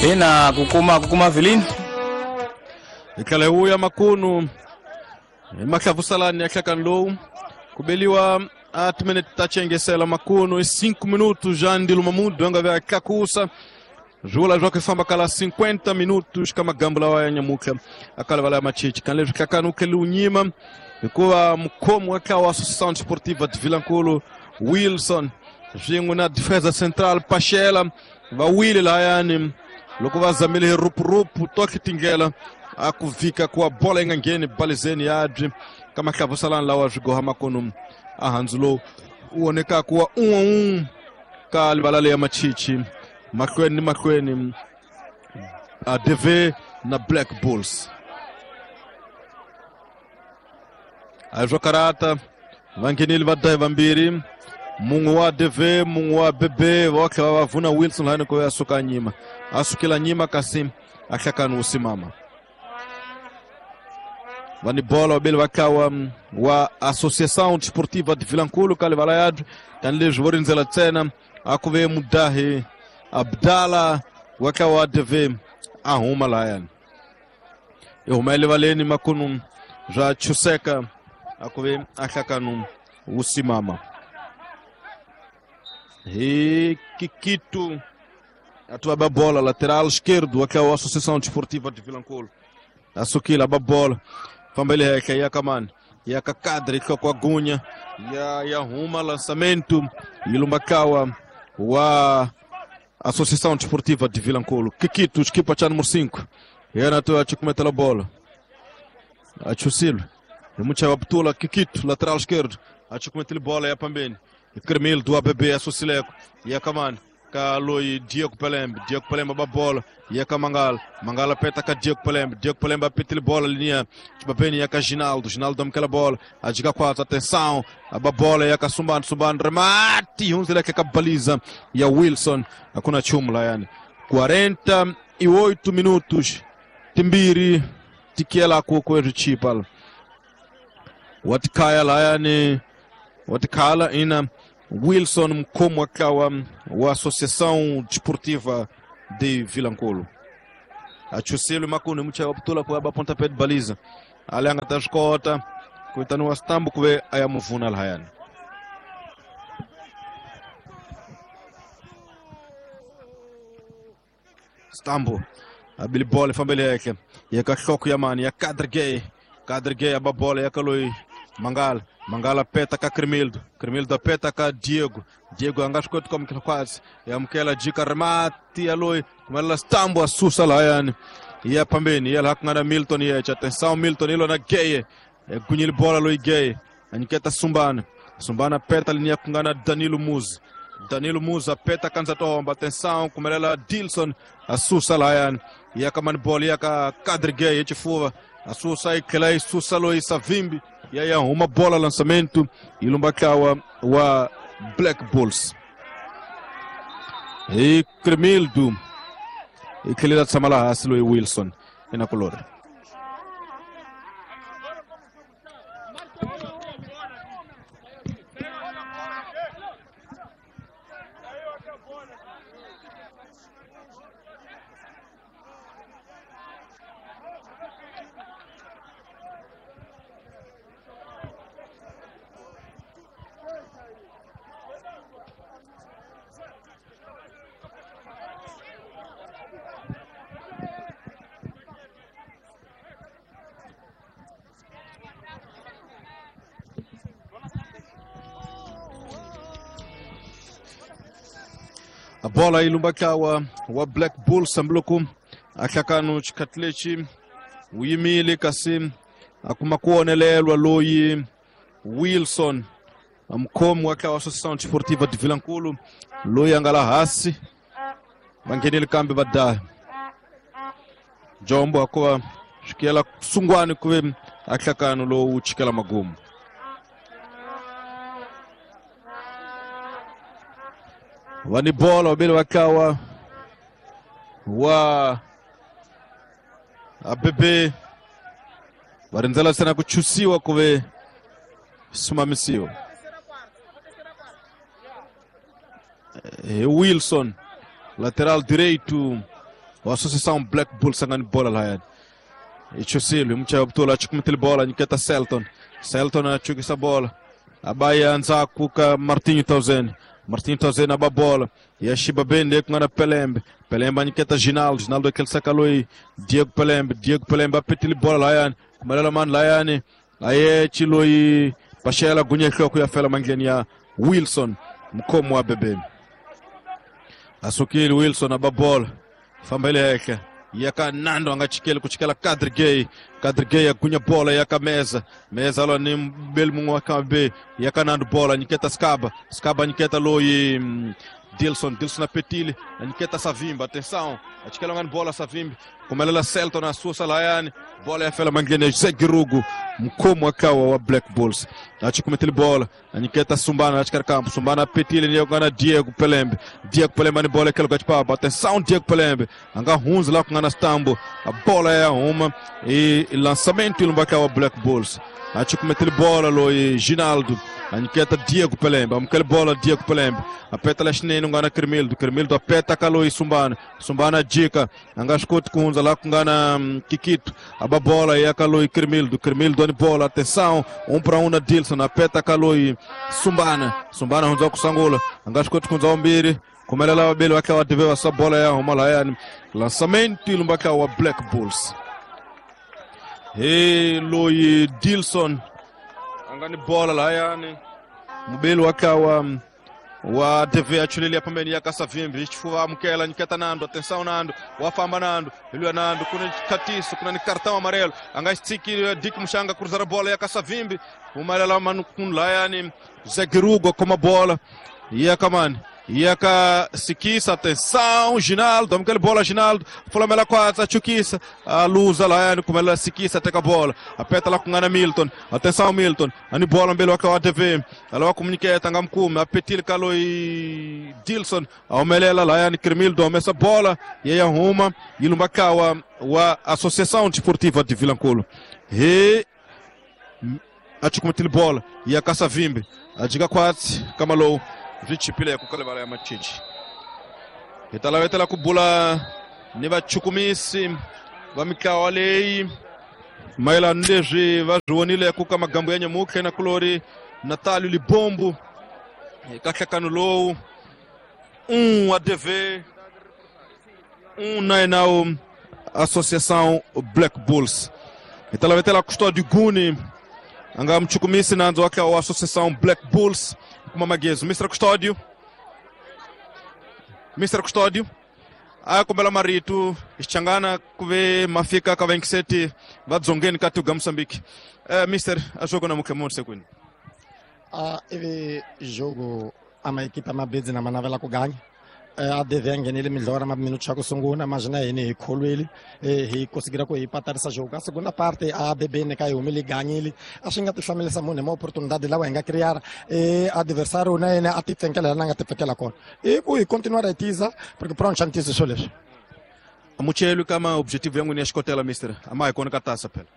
Ina ku kuma vilini. Hi tlhela hi vuya makunu hi mahlavusalani ya nhlekani lowu ku beliwa a timinete ta chengesela makunu i 5 minutos já ndilo mamudu anga ve a tlakusa swi vula leswaku hi famba kala 50 minutos ka magambu lawa ya nyamutlha a kala vala ya machichi kan leswi hlakani wu tlhele wu nyima hikuva mukhomi wa ntlawa wa Associação Desportiva de Vilankulu Wilson swin'we na Defesa Central Pachela va wile lahayani loko va zamile hi rupurupu tohle tindlela a ku vhika kuwa bola yi nga ngheni balizeni yabyi ka mahlavusalani lawa swi goha makunu a handzu lowu wu vonekaka wa un'we un'we ka livala leya machichi mahlweni ni mahlweni ADV na Black Bulls. A hi swo karata va nghenile va dahi vambirhi, mun'we wa ADV, mun'we wa BB, va tlhela va vuna Wilson lahani ko ya suka nyima a sukela nyima kasi a hlakani wu simama. Va ni bola vabeli va ntlawa wa Associação Desportiva de Vilankulu ka livala yabyo tanihileswi vo rindzela ntsena a ku ve mudahi Abdala wa ntlawa wa ADV a huma lahayani i huma erivaleni makunu bya chuseka a ku ve a hlakanu wu simama hi Kikitu a ba bola lateral esquerdo wa ntlawa wa Associação Desportiva de Vilankulu a sukile a ba bola famba ele henhla ya ka mani ya ka kadre nhloko wa gunya ya huma lançamento yi lumba ntlawa wa Associação Desportiva de Vilankulu. Kikito xikipa xa número 5 yena to a cukumetela bola a chusile hi muchayi wa putula. Kikito lateral esquerdo a cukumetele bola ya pambeni Kremil do ABB a Susileko ya kamani ka loyi Diego Pelembe. Diego Pelembe ba bola ya ka Mangala. Mangala peta ka Diego Pelembe. Diego Pelembe apetele bola linha Chibapeni ya ka Ginaldo. Ginaldo amukela bola ajika quatro, atenção, aba bola ya ka Sumbani. Sumbani remate hundzela ka baliza ya Wilson, hakuna chumu la yani. 48 minutos timbiri tikiela ku kwezichipa watikhaya layani watikhala ina Wilson mkhomi wa ntlawa wa Associação Desportiva de Vilankulu achusile makunu muchayi wa putula ku ya ba pontapé de baliza ale a nga ta swi kota ku vitaniwa stambu ku ve a ya muvuna lahayani. Stambu abili bola ifambele henhla ya ka nhloko ya mani ya Kadri Gay. Kadri Gay aba bola ya ka loyi Mangala. Mangala peta ka Crimildo. Crimildo peta ka Diego. Diego a nga swi koti ku amukela khwatsi ya amukela jika remati ya loyi kumelela Stambu a susa lahayani ya pambeni ya laha ku nga na Milton yeche. Atenção, Milton ilo na Geye gunyile bola loyi Geye a nyiketa Sumbana. Sumbana peta linia ku nga na Danilo Muzi. Danilo Muzi apeta kanza tomba, atenção, kumelela Dilson a susa lahayani ya ka mani bola ya ka Kadri Geye ya xifuva a susa yi tlhela yi susa loyi Savimbi ya huma bola lançamento yi lumba ntlawa wa Black Bulls hi Crimildo yi tlhelela tshama laha hansi loyi Wilson inakulori. A bola yi lumba ntlawa wa Black Bulls hambiloko a hlakano xikhathi lexi wu yimile kasi a kuma ku onelelwa loyi Wilson mukhomi wa ntlawa wa Associação Desportiva de Vilankulu loyi a nga la hansi va nghenile kambe va daha jombo hikuva swikela sungwani ku ve a hlakano lowu chikela magumu. Va ni bola vabeli va ntlawa wa ABB va rindzela ntsena ku chusiwa ku ve simamisiwa hi Wilson lateral direito wa Associação Black Bulls angani bola lahayani ichusile mchaya butula achikumitile bola nyiketa Selton. Selton achukisa bola abaya nzaku ka Martinho Tauzen. Martinho Tauzen aba bola yashiba bende kungana Pelembe. Pelembe anyiketa Ginaldo. Ginaldo aquele sakaloi Diego Pelembe. Diego Pelembe apetile bola lahayani kumelela mani lahayani aye chiloi Pachela gunya hloko ya fela mangleni ya Wilson mkomo wa bebe asukili Wilson ababola fambele heke yaka Nando angachikele kuchikela Kadri Gay agunya bola yaka Meza Meza alo ni mbeli mungu wakabe yaka Nando bola nyiketa Skaba Skaba nyiketa loi Dilson Dilson apetile nyiketa Savimba atenção achikela ngani bola Savimbi kumelela Selton na susa layani bola ya fela mangleni Zé Girugo mkomo akawa wa Black Bulls achikumetele bola anyiketa Sumbana achikar campo Sumbana apetile ni Diego Pelembe Diego Pelembe ni bola kelo gachipapa atenção Diego Pelembe anga hunza lá com Stambo a bola é uma e lançamento ilumbaka wa Black Bulls achikumetele bola loi Ginaldo anyiketa Diego Pelembe amkele bola Diego Pelembe apeta lashnene ngana Kermildo Kermildo apeta kaloi Sumbana Sumbana jika angashkoti kunza lá kungana Kikito ababola e akaloi Kermildo Kermildo ni bola atenção 1-1 na Dilson apeta kaloi Sumbana Sumbana hunza kusangula angashkoti kunza ombiri kumelela wabili wake wa TV wasa bola ya humala yani lançamento ilumbaka wa Black Bulls he loi Dilson angani bola la yani mubeli wakawa wa TV achulilia pembeni ya Kasavimbi chifuwa mkela nyiketa Nando atenção Nando wafamba Nando ilwa Nando kuna katiso kuna ni cartão amarelo angastiki Dick Mushanga cruzar a bola ya Kasavimbi umalela manu la yani Zegirugo com a bola e akamani Yaka Sikisa, atenção, Ginaldo, amkele bola Ginaldo, fulamela quase, chukisa, a luza lá, como ela Sikisa, teka a bola, apeta lá com Ana Milton, atenção Milton, ani bola mbele waka wa TV, ela comuniqueta ngamkume, apetil kaloi Dilson, aumelela lá, yani Kremildo, essa bola, e aí arruma, ilumbakawa wa Associação Desportiva de Vilanculo. E achukumetile bola, e a Kasavimbi, a diga quase, kamalou. Vichipile kukalebala ya machichi italawetela kubula ni vachukumisi va mitlawa leyi mayelana leswi va swi vonile ku ka magambo ya nyamutlhe na kulori Natalio Libombo eka nhlekano lowu 1 ADV 1 na enao Associação Black Bulls italawetela Custódio Guni anga mchukumisi nanzo wake wa Associação Black Bulls kuma magezo Mr. Custódio akombela marito xichangana kuve mafika ka 27 va dzongeni ka tuga Moçambique. Mister a jogo na mukhe munhu sekwini ivi jogo ama equipa mabedzi na manavela ku ganya a DV nghenele midlora ma minuto xa ku sungula mas na hina hi kholwile hi kusigira ku hi patarisa jogo a segunda parte a ADB ne ka hi humile ganyile a swi nga ti hlamelisa munhu hi ma oportunidade lawa hi nga criar adversário na yena a ti pfenkela la nga ti pfenkela kona i ku hi continuar hi tiza porque pronto xa ntiyiso swo leswi amuchelu kama objetivo yangu ni ya xikotela mister ama hi kona ka tasa phela.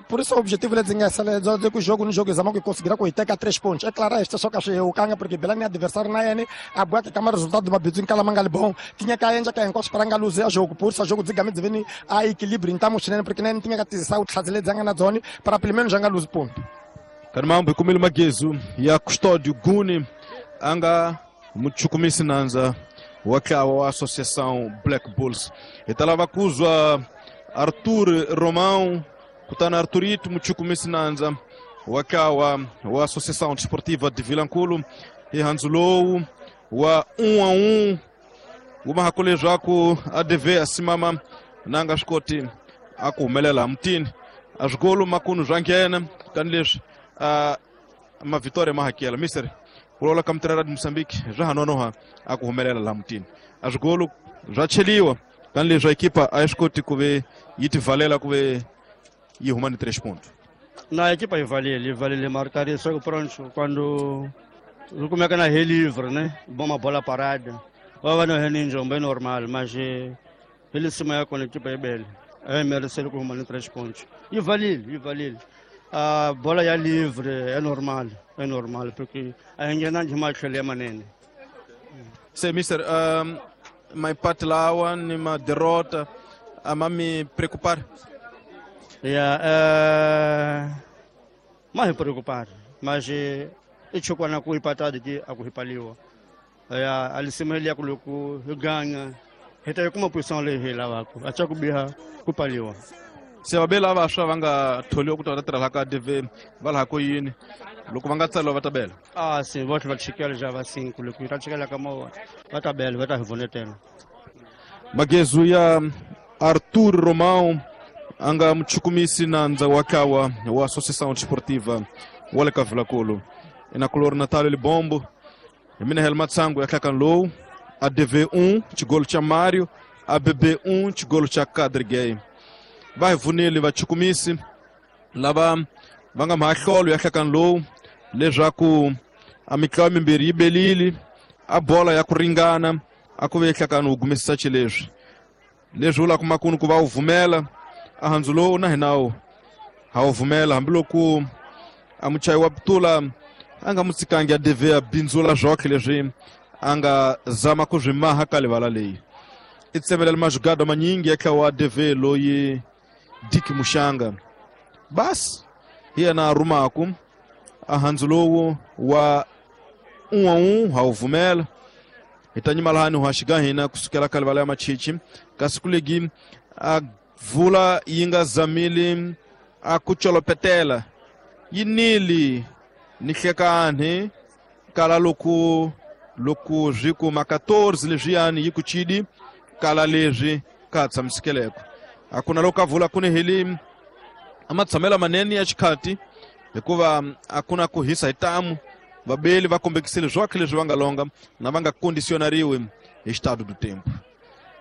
Por isso o objetivo é desenhar que o jogo no jogo exame que conseguirá com 3 pontos. É claro, este só que o canga porque Belém adversário na N a boa que câmara resultado do Mabizinho que ela manga bom. Tinha que ainda que encosta para luz a jogo por isso jogo desigamente vem a equilíbrio então mostrando porque nem tinha que testar o trazer zanga na zona para pelo menos janga luz ponto. Carmambo com ele Magezo e a Custódio Guni anga muchukumisi nanza wakawa wa Associação Black Bulls. Italava kuzwa Arthur Romão kutana Arthurito muchukumisi nanza wakawa wa Associação Desportiva de Vilanculo e Hanzulou wa 1-1 umahakole zwaku ADV asimama nanga xikoti akuhumelela mutini azwikolo makunu zwa nghena kani leswi ma vitória mahakela mister kulola ka mutirhela di Moçambique zwa hanonoha akuhumelela laha mutini azwikolo zwa cheliwa kani leswi ekipa a yi swi koti ku ve yi tivalela ku ve yi huma ni 3 pontos. Na equipa yi valele marcaria só que pronto quando como é que na relivre, né? Bom uma bola parada. Vai no reninjo bem normal, mas ele se maior com a equipa é bela. É merecer com uma 3 pontos. E valele. A bola é livre, é normal, porque a engana demais que ele é manene. Sim, mister, maipati lawa ni maderrota a ma mi preocupar? Ya, ma hi preocupar, mas i chukwana ku ipatadi ki a ku hipaliwa. Ya, alisema ya ku loko hi ganga hi ta kuma position leyi hi lavaka, a cha ku biha ku paliwa. Se vabeli lava vantshwa va nga tholiwa ku ta va ta tirha laha ka DV va laha ko yini loko va nga tsariwa va ta bela? Ah, sim, voto va chikela já va 5 loko hi ta chikela ka mova va ta bela, va ta hi vonetela. Magezu ya Arthur Romão a nga muchukumisi nandza wa kawa wa Associação Desportiva wa le ka Vilankulu. Inakulori Natalio Libombo hi mina Helma Tsangu ya hlakani lowu. ADV 1 xigolo cha Mário, ABB 1 xigolo cha Kadri Gay. Va hi vunile vachukumisi lava va nga mahlolo ya hlakani lowu leswaku a mitlawa mimbirhi yi belile a bola ya ku ringana a ku ve hlakani wu gumisisa xileswi leswi vulaka makunu ku va wu vumela a handzu lowu na hina wu ha wu vumela hambiloko a muchayi wa putula a nga mu tsikangi a DV a bindzula zwoke leswi a nga zama ku swi maha ka livala leyi. I tsemelela majugada manyingi ya tlawa wa DV loyi Dick Mushanga basi hi yena a rumaku a handzu lowu wa 1-1 ha wu vumela. Hi ta nyima lahani wa xiga hina kusukela ka livala ya machichi kasi ku legi a vula yi nga zamile a ku colopetela yi nili ni hlekani kala loko loko swi kuma 14 leswiyani yi ku chidi kala leswi ka tshamisekeleko. A ku na loko a vula ku ni heli a matshamela manene ya xikhati hikuva a ku na ku hisa hi tamu vabeli va kombekisile zwakhe leswi va nga longa na va nga kondisionariwi hi xitado do tempo.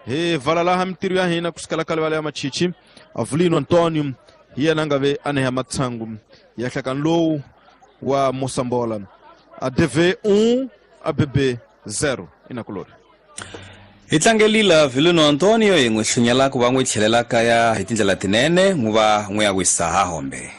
Hi vala laha mintirho ya hina kusukela ka livala ya machichi Avelino Antonio hi yena a nga ve a neha matsangu ya hlakani lowu wa Mosambola. ADV 1 ABB 0 inakulori. Hi tlangelile Avelino Antonio hi n'wi hlunyela ku va n'wi tlhelela kaya hi tindlela tinene n'wi va n'wi ya wisa ha hombe.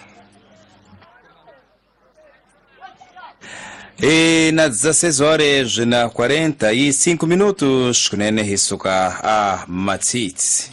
E na 16 horas na 45 minutos kunene hi suka a Matsitsi.